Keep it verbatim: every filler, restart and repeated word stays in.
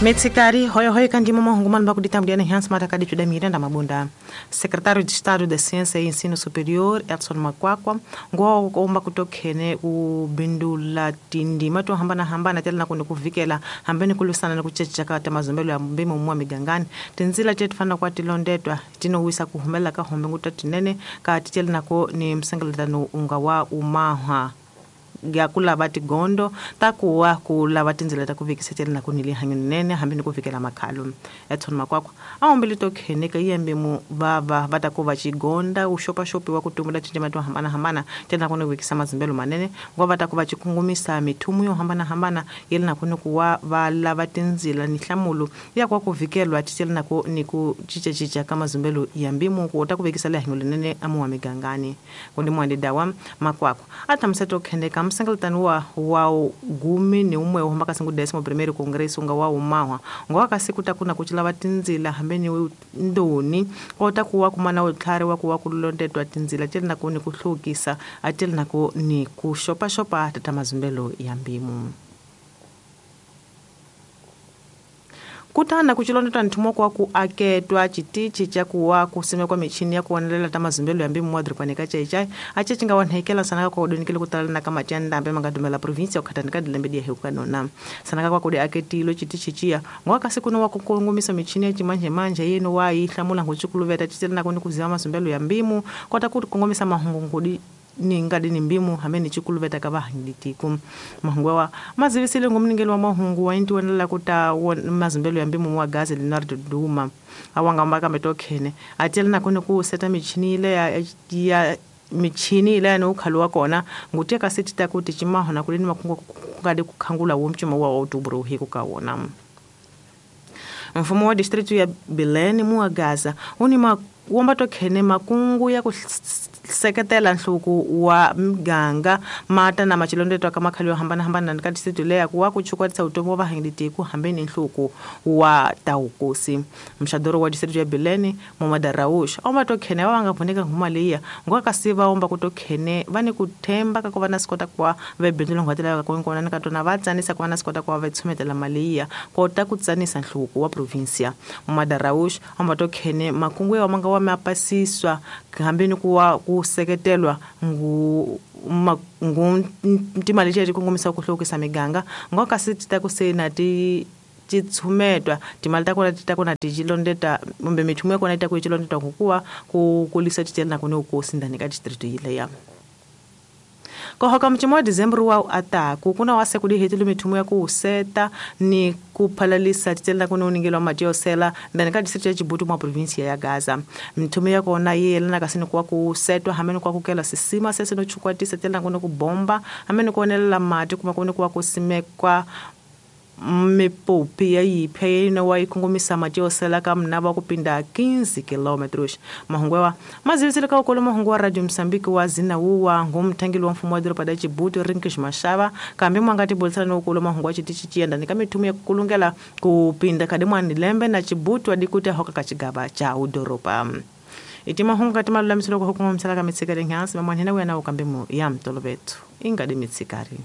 Metsikari hoyo hoyo kandimo mahungu manu bakudita mdiana hansi mata kadi chuda miranda mabunda. Secretário de Estado da Ciência e Ensino Superior, Edson Makwakwa, ngwa omba kutokhene kubindula tindima to hambana hambana tela na kuvikela hambeni kulusana na kuchecha ta mazombelo ya mbimo mwa migangani. Tinzila chetu fana kwa tilondetwa tinowisa kuhumela ka hombe ngutatinene ka titela nako ni msengeletano unga wa umaha. Ya kulava tigondo takuwa kulava tindzela ta ku vekisa na ku nili hanyunene hambi ni ku vikela makhalo. Edson Makwakwa aombele tokhene ka yembe mu vava va ta ku va chigonda uxopaxopi wa ku tumbula tindzima to hambana hambana tena ku ni vekisa mazimbelo manene ngo va ta ku va chikungumisa mithumu yo hambana hambana yele na ku ni ku wa va lava tindzila ni nhlamulo ya kwa ku vikelwa titela na ku ni ku chichachicha ka mazimbelo ya mbimu ku ta ku vekisa le hanyunene amuwa migangani. Kundi mwandi dawa Makwakwa atamisa tokhene ka msengeletano wa wa gumi ni umwe wa hamba singu décimo primeiro congresso nga wa umahwa ngo kasi kuta kuna kuchilava tindzila hambeni ndoni kota kuwa kumana utlhari wa kuwa kulondetwa tindzila tele na ku ni ku hlukisa atele na ku ni ku xopa xopa tata mazimbelo ya mbimu. Kutana kuchilondetwa nthumo kwa ku aketwa chitichi cha kuwa kusimekwa michini ya kuonelela ta mazimbelo ya mbimu mwadripani ka chaichai ache chinga wanhekela sanaka kwa udonikele kutalana na kama chanda ambe mangadumela provinsia ukhatani ka dilembe dia heuka nona sanaka kwa kudi aketilo chitichi chia ngwaka siku no wakukungumisa michini ya chimanje manje yeno wa ihlamula ngochikuluveta chitela na kuni kuziwa mazimbelo ya mbimu kwata kukungumisa mahungu ngudi ni ngadi ni mbimu hameni chikuluveta ka vahangitiku mahungu wa mazivisile ngumningelo wa mahungu wa inti wanela kuta mazimbelo ya mbimu wa gazi Leonardo Duma awanga mbaka metokhene atela na kone ku seta michini ile ya, ya michini ile no ukhaluwa kona nguteka sitita kuti chimaho na kulini makungu kungadi kukhangula womchuma wa outubro hiku kawona. Mfumo wa distritu ya Bilene muwa Gaza uni ma womba tokhene makungu ya ku seketela nhluku wa miganga mata na machilondetwa ka makhalo yo hambana hambana ka district leya ku wa ku chukwatisa utomi wa vahangilitiku hambeni nhluku wa taukusi. Mxadoro wa district ya Bilene Momada Raush omba tokhene wa nga vuneka nguma leya ngo kasi va omba ku tokhene va ni ku themba ka ku va na sikota kwa ve bindzu ngwatela ka kona ni ka tona va tsanisa ku va na sikota kwa va tshumetela mali ya kota ku tsanisa nhluku wa provincia. Momada Raush omba tokhene makungu ya manga wa mapasiswa hambeni ku wa ku seketelwa ngu ngu timali leti kongomisa ku hlukisa miganga ngo kasi tita ku sena ti titshumetwa timali ta kona ti ta kona ti chilondeta kumbe mithumu ya kona yi ta ku chilondeta kukuwa ku kulisa titela na ku ni ukosi ndani ka district yile ya. Kohoka mchimo wa December wa ataku kuna wase kudi mithumu ya ku seta ni kuphalalisa titela kuna uningelwa matio sela ndani ka district ya Chibutu mwa province ya Gaza. Mithumu ya kona yelana kasi ni kwa kusetwa hameni kwa kukela sisima sese no chukwatisa tela kuna kubomba hameni kuonelela mati kuma kuna kwa kusimekwa mipopi ya yiphe ino wa ikungumisa mati sela ka mnaba kupinda quinze quilômetros. Mahungwewa mazivisile ka ukolo mahungu wa Radio Mozambique wa zina wuwa ngumthangeli wa mfumo wa doroba da Chibutu Rinkish Mashava kambe mwangati bolisana no ukolo mahungu wa chitichi chiyenda nika mithumu ya kukulungela kupinda kadi mwani lembe na Chibutu adikuti hoka kachigaba cha udoroba. Iti mahungu kati malulamisilo kwa hukumu msala ka mitsikari nyansi mamwanhena wena ukambe mu ya mtolobetu ingadi mitsikari.